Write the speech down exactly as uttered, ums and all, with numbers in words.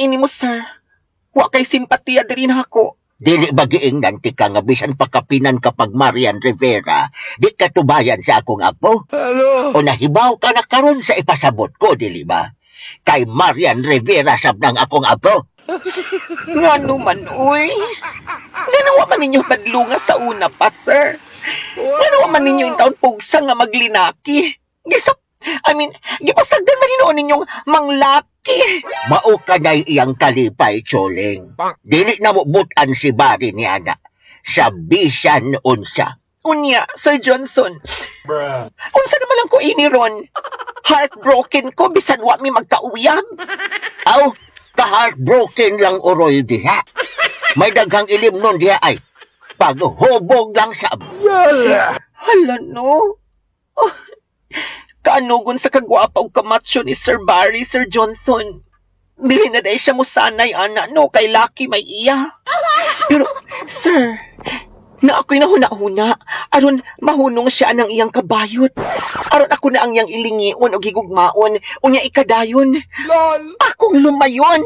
Maini mo, sir. Wa kay simpatiya diri nako. Dili ba giingnan ti ka nga bisan pakapinan kapag Marian Rivera, di ka tubayan sa akong apo? Hello. O nahibaw ka na karon sa ipasabot ko, dili ba? Kay Marian Rivera sab nang akong apo. Ngano man, uy. Ngano wa man ninyo badlunga sa una pa, sir. Ngano wa man ninyo intawon pugsa nga maglinaki. Gisap, I mean, gipasagdan man hinuon ninyong manglaki. Mao kanay iyang kalipay, Choling. Dili na mo butan si Barry ni ana. Sa bisan unsa. Unya, Sir Johnson. Unsa naman lang ko ini ron? Heartbroken ko bisan wa mi magkauyab. Aw, ka-heartbroken lang uroy diha. May daghang ilim nun diha ay paghubog lang sa Hala no. Oh, kaanugon sa kagwapa og kamacho ni Sir Barry, Sir Johnson. Dili na diay siya musanay, ana, no, kay laki may iya. Pero, sir, na ako'y nahuna-huna, aron mahunong siya ng iyang kabayot. Aron ako na ang iyang ilingion o gigugmaon, unya ikadayon. Lol. Akong lumayon.